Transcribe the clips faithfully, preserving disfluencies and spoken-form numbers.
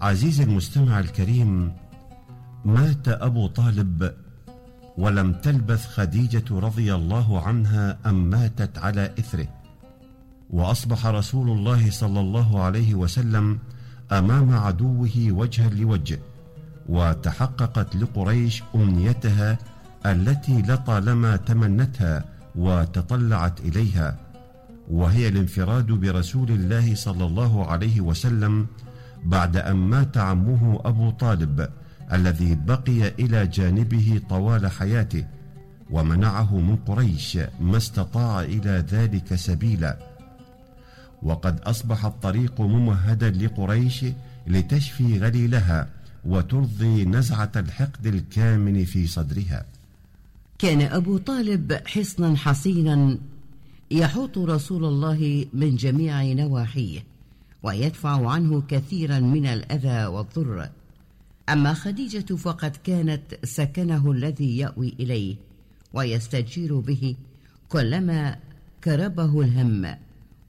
عزيزي المستمع الكريم، مات أبو طالب ولم تلبث خديجة رضي الله عنها أن ماتت على إثره، وأصبح رسول الله صلى الله عليه وسلم أمام عدوه وجها لوجه، وتحققت لقريش أمنيتها التي لطالما تمنتها وتطلعت إليها، وهي الانفراد برسول الله صلى الله عليه وسلم بعد أن مات عمه أبو طالب الذي بقي إلى جانبه طوال حياته، ومنعه من قريش ما استطاع إلى ذلك سبيلا. وقد أصبح الطريق ممهدا لقريش لتشفي غليلها وترضي نزعة الحقد الكامن في صدرها. كان أبو طالب حصنا حصينا يحوط رسول الله من جميع نواحيه، ويدفع عنه كثيرا من الأذى والضر. أما خديجة فقد كانت سكنه الذي يأوي إليه ويستجير به كلما كربه الهم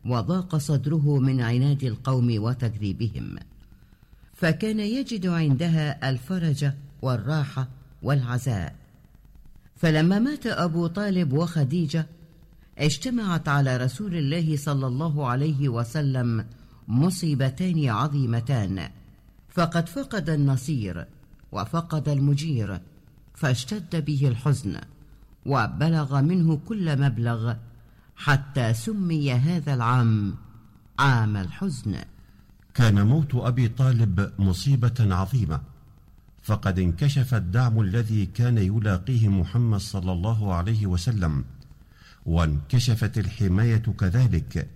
وضاق صدره من عناد القوم وتكذيبهم، فكان يجد عندها الفرج والراحة والعزاء. فلما مات أبو طالب وخديجة اجتمعت على رسول الله صلى الله عليه وسلم مصيبتان عظيمتان، فقد فقد النصير وفقد المجير، فاشتد به الحزن وبلغ منه كل مبلغ، حتى سمي هذا العام عام الحزن. كان موت أبي طالب مصيبة عظيمة، فقد انكشف الدعم الذي كان يلاقيه محمد صلى الله عليه وسلم، وانكشفت الحماية كذلك،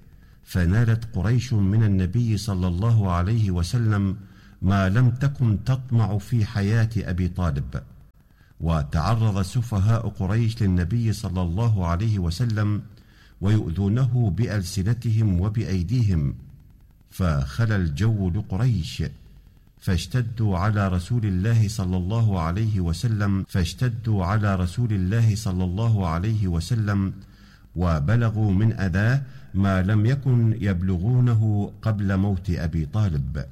فنالت قريش من النبي صلى الله عليه وسلم ما لم تكن تطمع في حياة أبي طالب. وتعرض سفهاء قريش للنبي صلى الله عليه وسلم ويؤذونه بألسنتهم وبأيديهم، فخلى الجو لقريش، فاشتدوا على رسول الله صلى الله عليه وسلم فاشتدوا على رسول الله صلى الله عليه وسلم وبلغوا من أذاه ما لم يكن يبلغونه قبل موت أبي طالب.